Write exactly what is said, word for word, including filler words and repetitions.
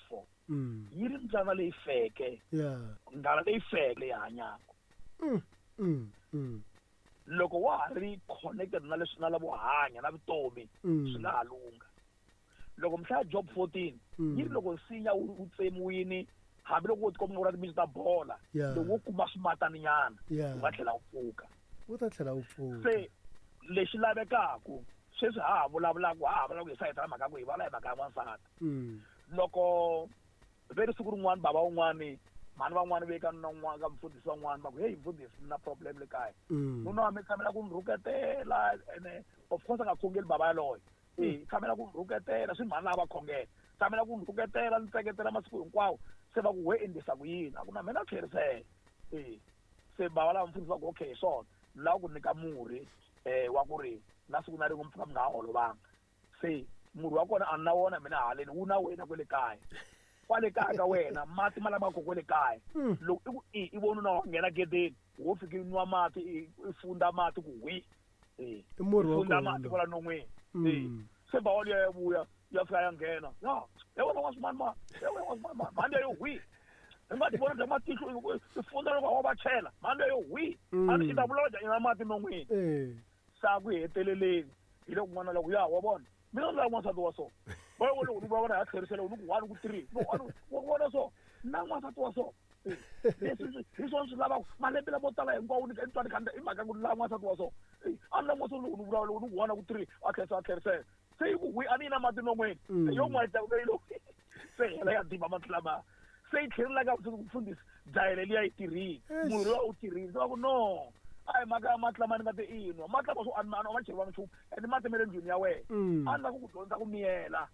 four Mm. yi ri mbyana leyi feke Yeah. nghala leyi feke leyi hanyaka Mm. Mm. Mm. loko wa ha ri connected na leswi na lavo hanya na vutomi Mm. swi nga ha lungha loko mi hlaya job fourteen Mm. yi ri loko nsinya wu wu tsemiwini hambiloko wo tikomba u ri timitsu ta bola Yeah. loko wo kuma swimataninyana Yeah. wu nga tlhela wu pfuka Wu ta tlhela wu pfuka. se lexi lavekaku sweswi ha ha vulavulaka ha ha vulavula hi sayiti ra mhaka ku hi vulavula hi mhaka ya n'wansati Mm. loko ve ri siku rin'wani bava un'wani mhani van'wani ve ka nuna un'wana ka mfundhisi van'wani va ku heyi mfundhisi ni na problem le kaya Mm. nuna wa mina tshamela ku ni rhuketela ene of course a nga khongeli bava yaloye e tshamela ku ni rhuketela swi mhani lava va khongela tshamela ku ni rhuketela ni tseketela masiku hinkwawo se va ku we endlisa ku yini a ku na mina tlherisela e se bava lava mfundhisi va ku okay hi swona ni lava ku nyika murhi um wa ku ri na siku na rin'we mi pfuka mi nga ha holovanga se murhi wa kona a ni na wona mina haleni wu na wena kwele kaya kwale kaya ka wena mati ma lama ko kwele kaya Mm. loko i ku i i vona na wa nghena gedeni wo fika i nwa mati i i funda mati ku hwi e I murhi wa funda kona mati lowu. kwala non'weni Mm. e se bawa liya ya vuya ya fika ya nghena ya ya wena wa swimani ma ya wena wa swimani ma mhani yo hwi i nga ti vona bya matihlo i funda loko wa va chela mhani yo hwi Mm. a ni i ta vulavula njhani na mati non'weni Eh. sa ku heteleleni hi loko n'wana loko ya wa vona mina ni lava n'wansati wa so va loko ni vulavula ya tlherisela ni ku one ku three ni one wa vona so na n'wansati wa so Eh, leswi hi swona swi lavaka malembe lamo tala hinkwawo ni ni twa ni kha i mhaka ku ni lava n'wansati wa so Eh, a ni lava n'wansati loko ni vulavula loko ni ku one ku three a tlherisa a tlherisela se yi ku hwi a ni yi na mati non'weni Mm. se yo n'wayita leyi loko se hela ya diba mati lamaya se yi tlhelela ka mfundhisi dayele liya yi tirhile Eish. murhi luwa wu tirhile se va ku no a hi mhaka ya mati lama ni nga te i nwa mati lama swo a ni a ma cheriwanga nchumu ende mati ma le ndlwini ya wena Mm. a ni lava ku ku dyondzisa ku miyela